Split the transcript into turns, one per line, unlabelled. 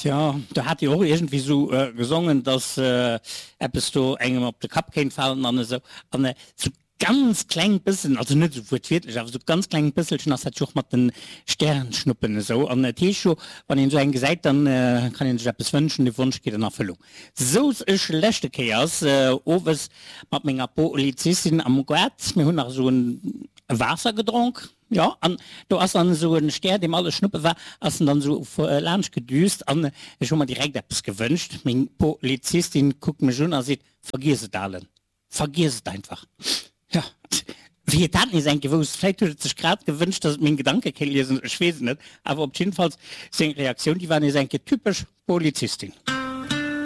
Tja, do hat Dir och iergendwéi esou gesongen, dass eppes do engem op de Kapp kéint falen an esou. An esou ganz kleng bëssen, also net esou wuertwiertlech, awer esou ganz kleng bësselchen ass dat jo och mat de Sternschnuppen esou. An et heescht jo, wann een esou eng gesäit, dann kann een sech eppes wënschen, de Wonsch geet an Erfëllung. Souz ech leschte Kéiers owes mat menger Polizistin am Gaart, mir hunn nach esou e Waasser gedronk, jo, an do ass dann esou e Stär, deem alles Schnuppe war, ass en dann esou laanscht gedüst an ech hu mer direkt eppes gewënscht. Meng Polizistin kuckt mech un a seet, Vergiess et, Alen. Vergiess et einfach. Jo, wéi et dat nees eng Kéier wousst, vläit huet et sech grad gewënscht, datt et meng Gedanke kéint liesen, ech weess et net, awer op jiddefalls seng Reaktioun, déi war nees eng Kéier typesch Polizistin.